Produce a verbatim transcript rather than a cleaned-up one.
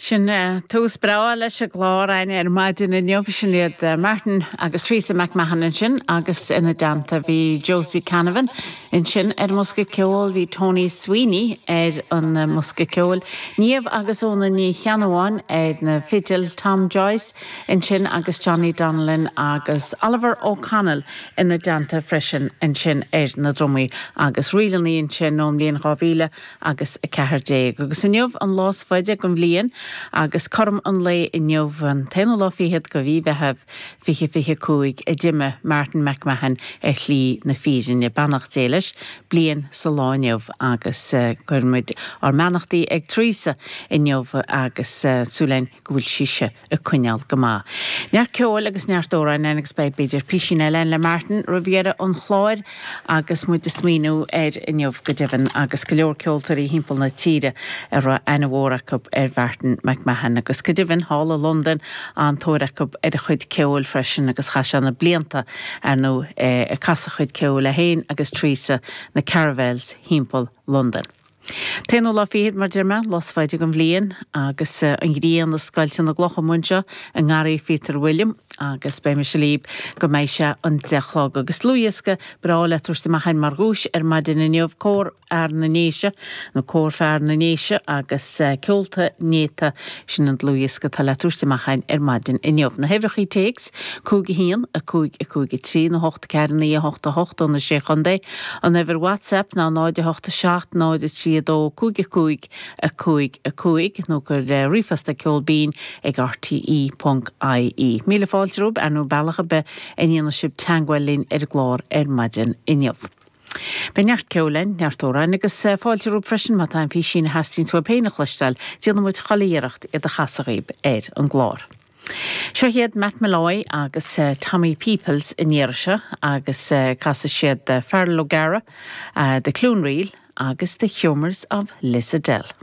Sin tús breá leis an gclár againn ar maidin inniu sin iad Martin agus Teresa McMahon ansin agus ina dteannta bhí Josie Canavan ansin ar an mbosca ceoil bhí Tony Sweeney ar an mbosca ceoil, Niamh agus Óna Ní Cheannabháin ar na fidil Tom Joyce ansin agus Johnny Donnellan agus Oliver O'Connell ina dteannta freisin ansin ar na drumaí agus ríleanna ansin ón mbliain dhá mhíle agus a ceathair déag. Agus inniu an lá is faide den bhliain agus cothrom an lae inniu an t-aonú lá fichead de mhí Mheithimh fiche fiche cúig a d'imigh Martin McMahon ar shlí na fírinne beannacht Dé leis bliain sa lá inniu agus cuirimid ár mbeannachtaí ag Teresa inniu agus súil againn go bhfuil sise ag coinneáil go maith. Neart ceoil agus neart amhráin agus beidh b'fhéidir písín eile le Martin roimh dheireadh an chláir agus muid ag smaoineamh air inniu go deimhin agus go leor ceoltóirí timpeall na tíre a raibh aithne mhór acu ar Mhartin McMahon agus go deimhin thall i Londain an-tóir acu ar a chuid ceoil freisin agus chaith sé na blianta ar nó ag casadh a chuid ceoil é féin agus Teresa na Caravels timpeall Londain. T-aonú lá fichead mar deir mé, lá is faide den bhliain agus an ghrian ag scoilteadh na gcloch amuigh anseo i nGarraí Phíotair William agus beidh mise libh go mbeidh sé an deich chlog agus dlúthdhiosca breá le tabhairt amach mar dhuais ar maidin inniu Cór Fhear na nDéise nó Cór Fear na nDéise agus Ceolta Néata sin an dlúthdhiosca atá le tabhairt amach ar maidin inniu. Na huimhreacha téacs cúig a haon a cúig a cúig a trí nó hocht ceathair naoi a hocht a hocht ó na sé chontae an uimhir WhatsApp ná náid a hocht a seacht náid a trí a dó cúig a cúig a cúig a cúig nó cuir ríomhphost ag ceol binn ag rte ponc ie. Míle fáilte romhaibh ar nó bealach ar bith a ndéanfaidh sibh teagmháil linn ar an gclár ar maidin inniu. Beidh neart ceoil againn, neart amhráin agus fáilte romhaibh freisin má tá aon phísín a theastaíonn uaibh féin a chloisteáil, déanfaidh muid chuile iarracht iad a chasadh dhaoibh ar an gclár. Seo iad Matt Molloy agus Tommy Peoples in iarse agus casfaidh siad Farrell O'Gara, The Cloonreel agus The Humours of Lissadell.